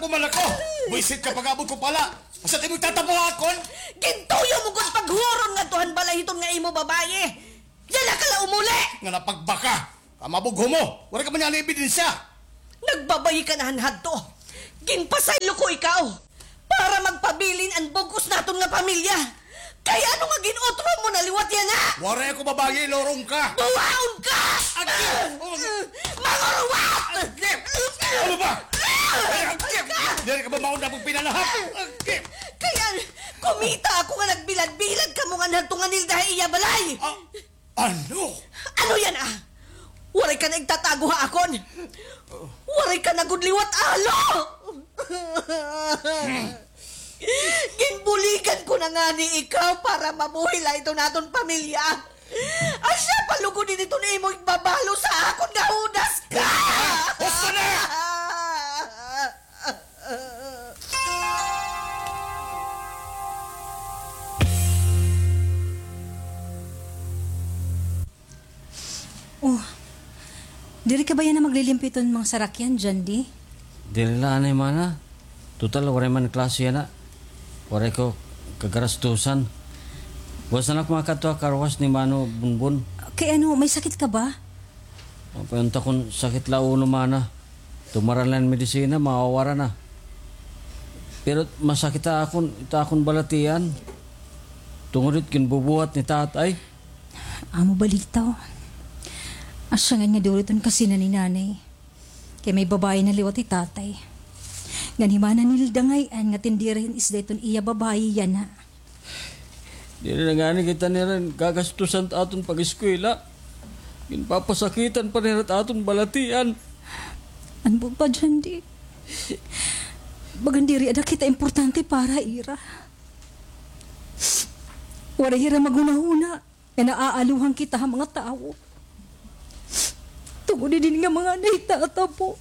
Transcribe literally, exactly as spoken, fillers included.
Kumalako! Buwisit ka pag-abot ko pala! Asa it imo igtatapo ha akon? Gintuyo mo gud paghuron ngadto han balay hiton nga imo babaye! Yana ka la umuli! Nga napagbaka! Kamabugho mo! Waray ka man yana ebidensya! Nagbabayi ka na han hadto! Ginpasaylo ko ikaw para magpabilin an bug-os naton nga pamilya! Kay ano nga gin-utro mo na liwat yana? Waray ako babaye, lorong ka! Buwaon ka! Agip! Mangurwat! Agip! Ano ba? Ay, agip! Diri ka ba mauna pagpinanahap? Agip! Kay kumita ako nga nagbilad-bilad kamo ngan hadto nga Nilda ha iya balay! Ah, ano? Ano yana? Waray ka na igtatago ha akon? Waray ka na gud liwat, alo! Ginbuligan ko na ngani ikaw para mabuhi la iton aton pamilya. Asya pa lugod ini iton imo igbabalo sa akon nga hudas ka! Husto na! Oh, diri ka ba yana maglilimpyo hiton mga sarakyan, Jandy? Diri la anay, mana. Total, waray man klase yana. Waray ko kagarastusan. Buwas na la ako makadto ha car wash ni Mano Bunbun. Kay ano, may sakit ka ba? Mapay unta kon sakit la ulo, mana. Tumaran la hin medisina, mawawara na. Pero masakit ha akon, it akon balatian. Tungod it ginbubuhat ni tatay. Amo balitaw. Asya ngay-an nga duro iton kasina ni nanay. Kay may babaye na liwat hi tatay. Ngan hi mana Nilda ngay-an nga tindera hin isda iton iya babaye yana. Diri na ngani kita nira gagastusan it aton pag-eskwela. Ginpapasakitan pa nira it aton balatian. Ano ba, Jandy? Bagan diri ada kita importante para ha ira. Waray hira maghunahuna nga naaaluhan kita ha mga tawo. Tungod hini nga mga nahitatabo.